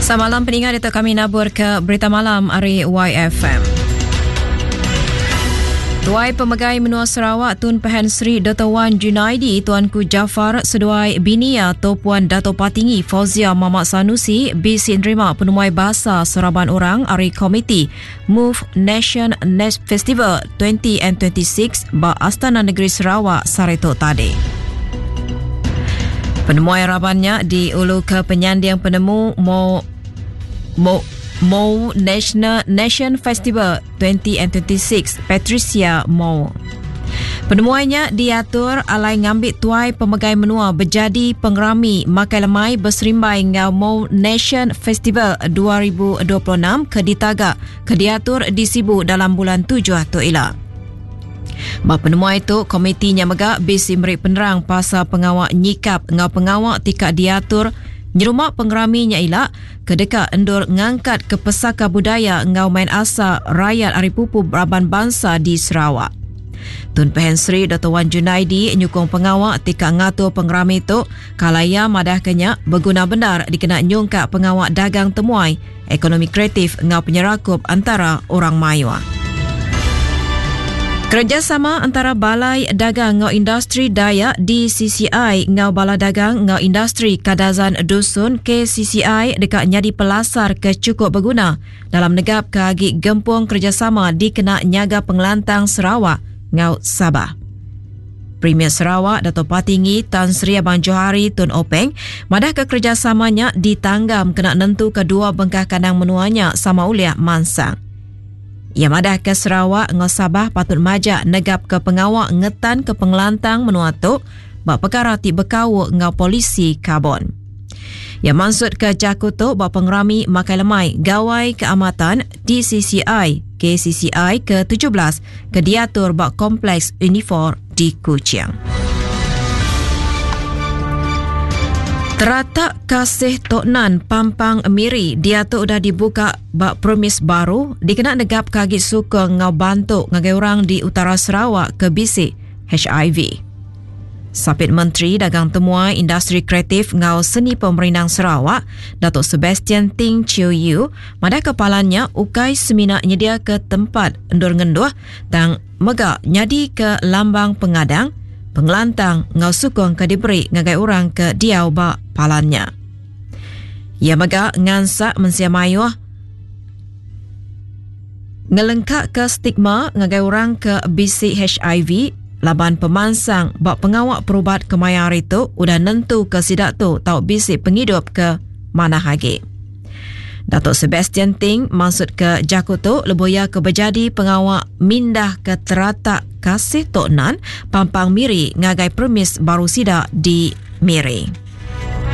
Samalam peninga ditu kami nabur ke berita malam ari YFM. Tuai Pemegai Menua Sarawak Tun Pehin Sri Dr. Wan Junaidi Tuanku Jaafar seduai bini iya To Puan Dato Patinggi Fauzia Mamat Sanusi bisi nerima penemuai basa seraban orang ari Komiti Move Nation Next Festival 2026 ba Astana Negeri Sarawak sehari tu tadi. Penemuai raban nya diulu ke penyanding penemu Mo Mo Mo National Nation Festival 2026 Patricia Mo. Penemuai nya diatur alai ngambi tuai pemegai menua bejadi pengerami makai lemai beserimbai enggau Mo Nation Festival 2026 ke ditaga ke diatur di Sibu dalam bulan tujuh tu ila. Ba penemuai tu, komiti nya mega bisi meri penerang pasal pengawa nyikap enggau pengawa ti ka diatur nyerumba pengerami nya ila ke deka endur ngangkatka pesaka budaya enggau main asal rayat ari pupu raban bansa di Sarawak. Tun Pehin Sri Doktor Wan Junaidi nyukung pengawa ti ka ngatur pengerami tu kala iya madahka nya beguna bendar dikena nyungkak pengawa dagang temuai, ekonomi kreatif enggau penyerakup antara orang mayuh. Kerejasama antara Balai Dagang enggau Industri Dayak DCCI enggau Bala Dagang enggau Industri Kadazan Dusun KCCI deka nyadi pelasar ke chukup beguna dalam negapka agi gempung kerejasama dikena nyaga pengelantang Sarawak enggau Sabah. Premier Sarawak Dato Patinggi Tan Sri Abang Johari Tun Openg madahka kerejasama nya ditanggam kena nentuka dua bengkah kandang menua nya sama ulih mansang. Iya madahka Sarawak enggau Sabah patut majak negapka pengawa ngetanka pengelantang menua tu ba pekara ti bekaul enggau polisi karbon. Iya mansutka jaku tu ba pengerami makai lemai Gawai Keamatan DCCI KCCI ke 17 ke diatur ba Kompleks Unifor di Kuching. Teratak Kasih Tok Nan Pampang Miri diatu udah dibuka ba premis baru dikena negapka agi sukung enggau bantu ngagai orang di utara Sarawak ke bisi HIV. Sapit Menteri Dagang Temuai Industri Kreatif enggau Seni Pemerindang Sarawak, Datuk Sebastian Ting Chiew Yew, madahka palan nya ukai semina nyediaka tempat endur ngenduh tang mega nyadika lambang pengadang, pengelantang enggau sukung ke diberi ngagai orang ke diau ba palan nya. Iya mega ngansak mensia mayuh ngelengkaka stigma ngagai orang ke bisi HIV laban pemansang ba pengawa perubat kemaya hari tu udah nentuka sida tu tau bisi pengidup ke manah agi. Datuk Sebastian Ting mansutka jaku tu lebuh iya ke bejadi pengawa mindahka teratak Kasih Tok Nan, Pampang Miri ngagai premis baru sida di Miri.